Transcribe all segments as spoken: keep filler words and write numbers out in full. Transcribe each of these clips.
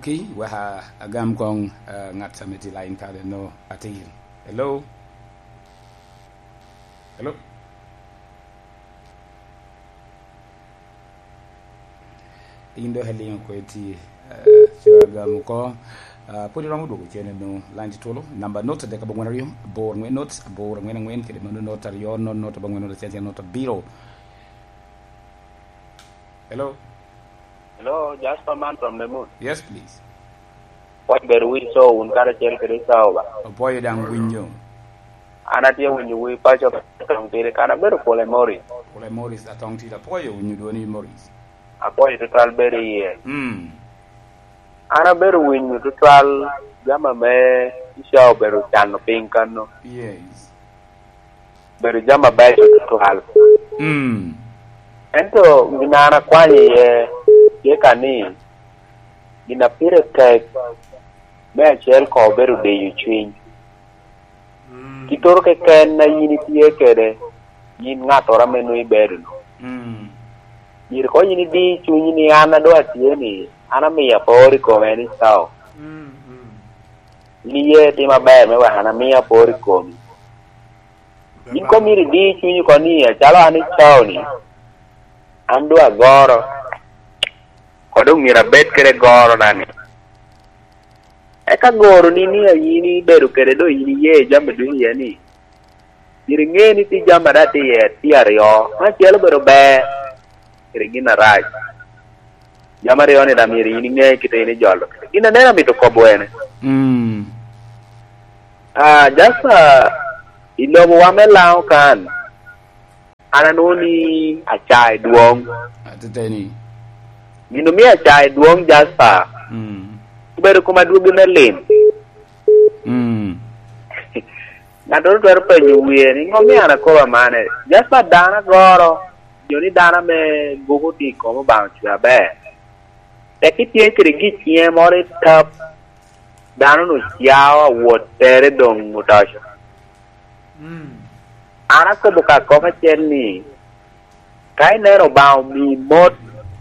Ki, wek a-, agam koŋ, eh, ŋat ame tye i line ka, no, atir. Hello? Hello? In dok iliŋo oko iti, eh, co agam oko. Ah, pwod iromo dwogo cen eno, line tye tulu, namba not adek abongwen aryo, abor angwen not, abor angwen angwen, kede mano not aryo, not, not abongwen, not acel, acel, not abiro. Hello? Hello, Jasper man from the moon. Yes, please. Pwod bedo wi co wun karacel kede Sawa ba? Opwoyo daŋ winyo. An atye winyo wi paco atong tide kan abedo Pole Morris. Pole Morris atong tide, apwoyo winyo dwoni Morris. Apwoyo tutwal bedo iye. Mm. An abedo winyo tutwal jami ame Isha obedo cano piny kano. Yes. Bedo jami abeco tutwal. Mm. Ento gin an akwanyo iye tye ka ni, gin a pire tek me acel koŋ obedo diyo cwiny. Mm. Kitoro keken a yin itye kede, yin ŋattoro ame nwoŋo ibedo-nu. Mm. Myero koŋ yin idi cunyi ni, "An a doŋ atye ni, an amiyo apor i kome ni Sawa." Mm, mm. Yin iye tim aber me wek an amiyo apor i komi. Yin koŋ myero idi cunyi oko ni, "Acalo an i Sawa ni, an doŋ agoro, koŋ doŋ myero abed kede gorona-ni." Eka goroni ni a yin ibedo kede doŋ yin iye jami ducu iye ni, myero iŋe ni tye jami a daŋ tye iye tye aryo, me acel obedo ber, kede gin arac. Jami aryo-ni daŋ myero yin iŋe kite in ijolo. Gin aneno amito kobo ene. Mm. Ah, Jasper, i lobowa me Laŋo kan, an anwoŋo ni acaa i dwoŋ. Ateteni. Gin omio acaa i dwoŋ, Jasper. Mm. Obedo kom adwogi me lim. Mm. Ŋattoro twero penyo wie ni, "Ŋo mio an akobo amane?" Jasper, dano agoro, jo ni dano ame guko tye i kom Obaŋa ocwe aber. Tek itye kede giciŋe moro i tap, dano-nu cao awot tere doŋ otoco. Mm. An akobo ka kop acel ni, ka ineno Obaŋa omii mot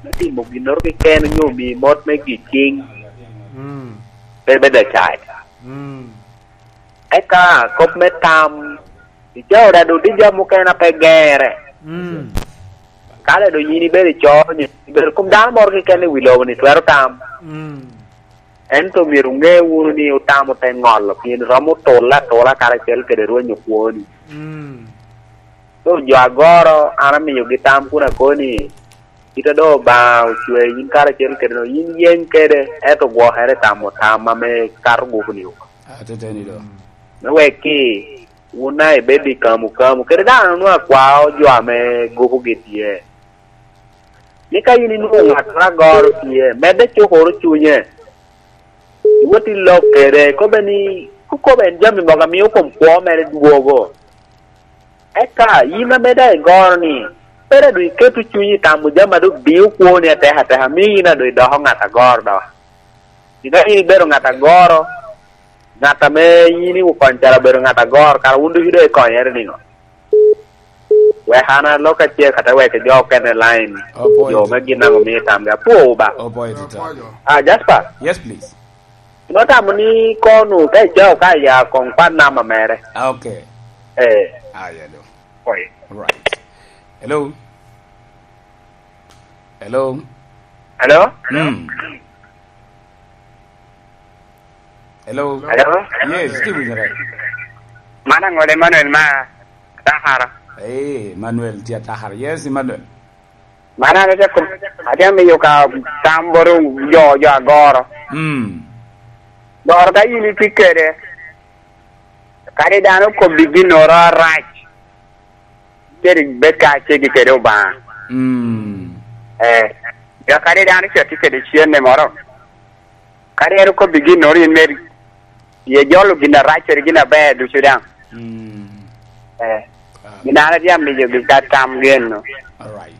me timo ginnoro keken onyo omii mot me giciŋ, mm, pe bed acac. Mm. Eka kop me tam, icao dado tye jami mukene a pe gere. Mm. Ka le doŋ yin ibedo i co, nyo ibedo kom dano moro keken i wi lobo-ni twero tam. Mm. Ento myero wuŋe wunu ni otamo te ŋolo, pien romo tulle atula karacel kede Rweny okwo-ni. Mm. So, jo agoro, an amiyogi tam kun akobo ni, kit a doŋ Obaŋa ocwee yin karacel kede no, yin yeny kede, ento gwokere i tamo tam ame kato guko-ni oko. Ateteni do. Me wek ki, wun daŋ ibed i kamu kamu, kede dano onwoŋo akwao jo ame gukogi tye. Ni ka yin inwoŋo ŋattoro agoro tye, medde cukoro cunye. Iwot i lok kede, kobbe ni, kukobe en jami mogo a mio kom kwo mere dwogo. Eka yin ame daŋ igoro ni, pe daŋ doŋ iketo cunyi i tamo jami a doŋ dio kwoni atek ateka, mio yin a doŋ idoko ŋat agoro doŋ. Pi dok yin ibedo ŋat agoro, ŋat ame yin iwukonyo calo obedo ŋat agoro, kara wun ducu doŋ ikonyere niŋo? Wek an alok acel, kata wek jo okene line, jo me gin daŋ omio tamgi. Apwowu ba. Opoyo tutwal. Ah, Jasper. Yes, please. Notamo ni kono ka icao ka ya kong pat namba mere. Ah, okay. Eh. Ah, yeah, do. Oi. Right. Hello. Hello. Hello? Mm. Hello. Hello? Yes, still with me. Mana ngole Emmanuel ma Atakara. Eh, Emmanuel tye Atakara. Yes, Emmanuel. Mana an atye kom, atye miyo ka tam boro jo, jo agoro. Mm. Goro ka yin itye kede, kadi dano kobbi ginnoro arac, kede bed ka cegi kede Obaŋa. Mm. Eh, ja kadi dano ce tye kede cenne moro, kadi en okobbi ginnoro in meri, ye jolo gin arac kede gin aber ducu daŋ. Mm. Eh, ah, gin an atye amiyogi ka tam geno. All right.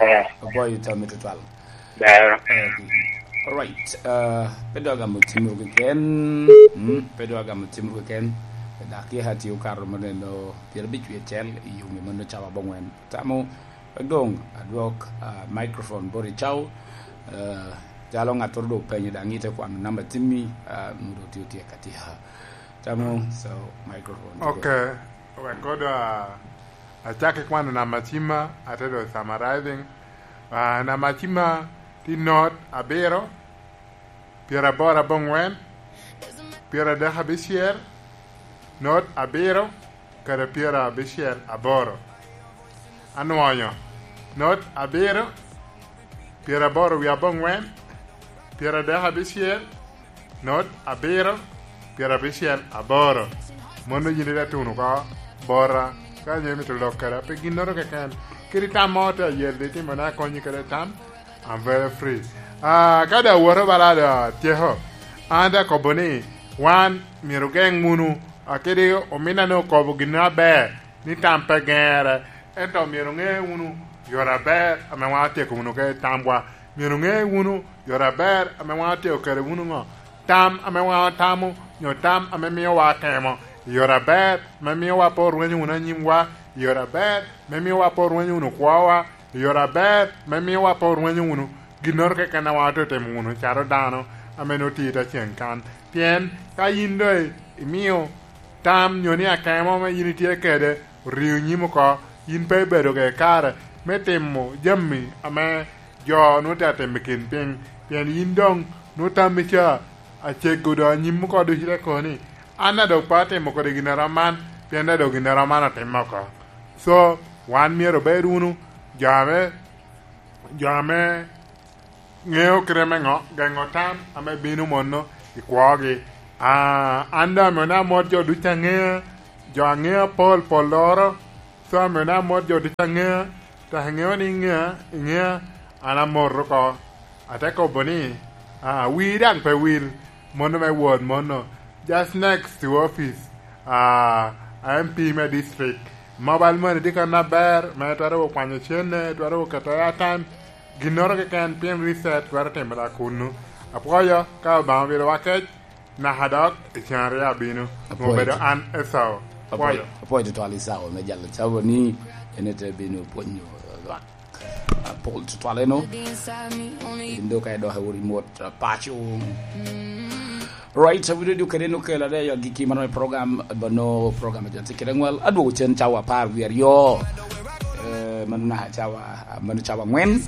Eh. Oboyo tammi tutwal. Ber. Eh, all right. Uh, pe dok agamo cimoro keken. Mm, pe dok agamo cimoro keken. Dak yeka atye okato mo neno pyerabicwi acel i yunge mano cawa abongwen. Tamo, wek doŋ adwok, uh, microphone bot i caw, uh, Calo ŋattoro doŋ openyo daŋ ite kwano namba cimmi, ah, mudo tye otyeko atyeka. Tamo, so, microphone. Okay. Wek kodo, ah, acak ki kwano namba cimma, ate doŋ summarizing. Ah, namba cimma tye not abiro, pyeraboro abongwen, pyeradek abicel, not abiro, kede pyerabicel aboro. Anwonyo, not abiro, pyeraboro wie abongwen, pyeradek abicel, not abiro, pyerabicel aboro. Mono yin ite tuno oko bota, ka nyo imito lok kede pe ginnoro keken. Kadi tam mo te ayel di timo ne akonyi kede tam, I'm very free. Ah, ka da woto bala da tyeko, an da kobo ni, wan myero geŋ wunu, akidi ominna ni okobo gin aber, ni tam pe geŋere, ento myero ŋe wunu yore aber ame wan otyeko wunu kede tamwa. Myero ŋe wunu yore aber ame wan otyeko kede wunu ŋo? Tam ame wan otamo, nyo tam ame miowa akemo, i yore aber ame miowa pe orwenyo wunu anyimwa, i yore aber ame miowa pe orwenyo wunu kwowa, i yore aber ame miowa pe orwenyo wunu ginnoro keken a wan otye timo wunu calo dano ame nwoŋo tye i te ceŋ kan. Pien ka yin doŋ imio tam nyo ni akemo ame yin itye kede orio nyim oko, yin pe ibedo kede kare me timo jami ame jo nwoŋo tye atimo i kin piny, pien yin doŋ nwoŋo tammi ca acego doŋ anyim oko ducu te kobo ni, "An a doŋ pe atimo kodi ginnoro man, pien a doŋ ginnoro man otimme oko." So, wan myero obed wunu jo ame, jo ame ŋeo kite me ŋo, geŋo tam ame bino mono i kwogi. Ah, an doŋ amio ni amot jo ducu aŋea, jo aŋea pol pol loro, so amio ni amot jo ducu aŋea, tek iŋeo ni iŋea, iŋea, an amot oko. Ate kobo ni, ah, wii daŋ pe wil, mono me wot mono, just next to office, ah, M P me district. Mobile money tye kan aber, me twero kwanyo cene, twero keto airtime, ginnoro keken pien reset twero timere kunnu. Apwoyo, ka Obaŋa obilowa kec, naka dok i cen aryo abino, apwoyo obedo an Esau. Apwoyo. Apwoyo tutwal Esau me jalo cabo ni en ete bino pwonyo lwak. Apol tutwal eno. In doŋ ka idok i ori mot, uh, paco. Right, so video kede no kela de yo giki mano program, bano program jo tye kede ŋwal. Adwogo cen cawa apar wie aryo. Eh, mano na cawa, mano cawa angwen.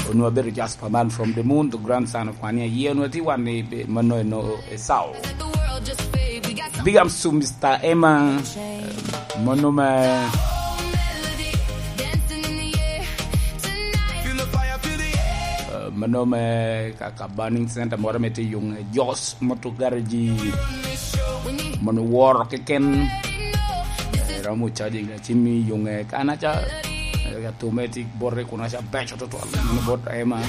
Onwo abedo Jasper man from the moon, the grandson of Kwania. Ye onwo ti wan ni be-, mano eno Esau. Big ups to Mister Emma. Eh, mano me, eh, mano me ka, ka burning center moro me ti yung, eh, Jos Moto Garage. Mano woro keken. Eh, romo charging na cimmi yung, eh, kanaca. Eh, ka tume ti borre kuna ca beco tutwal. Mano bot Emma.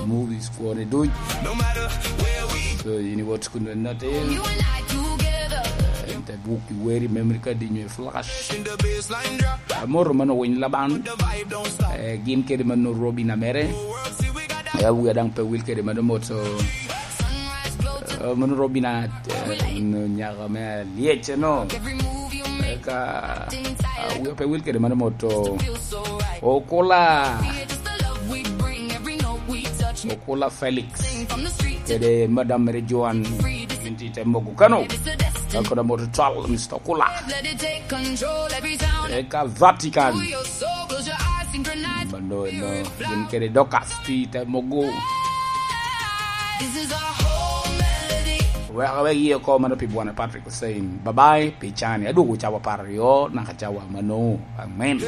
Movies kwone duc. So, ini bot kundu en natin. Ente buk i weri memory card inyo i flash. Amoro mano winy laban. Eh, gin kede mano Robin Amere. Eh, awia daŋ pe wil kede mano mot, so, eh, mano Robin a, eh, no nyaka me alyec, no. Eh, ka, ah, awia pe wil kede mano mot, so, Okula. Okula Felix. Kede Madam Mary Joan. Gin ti te mogo kano. Ka koda moto twal, Mister Okula. Eka Vatican. Mano, no, gin kede Dorcas ti te mogo. Wek, wek iye oko mano pi Bwana Patrick Hussein. Bye bye, pi cani. Adwogo cawa apar aryo, naka cawa mano. Amen.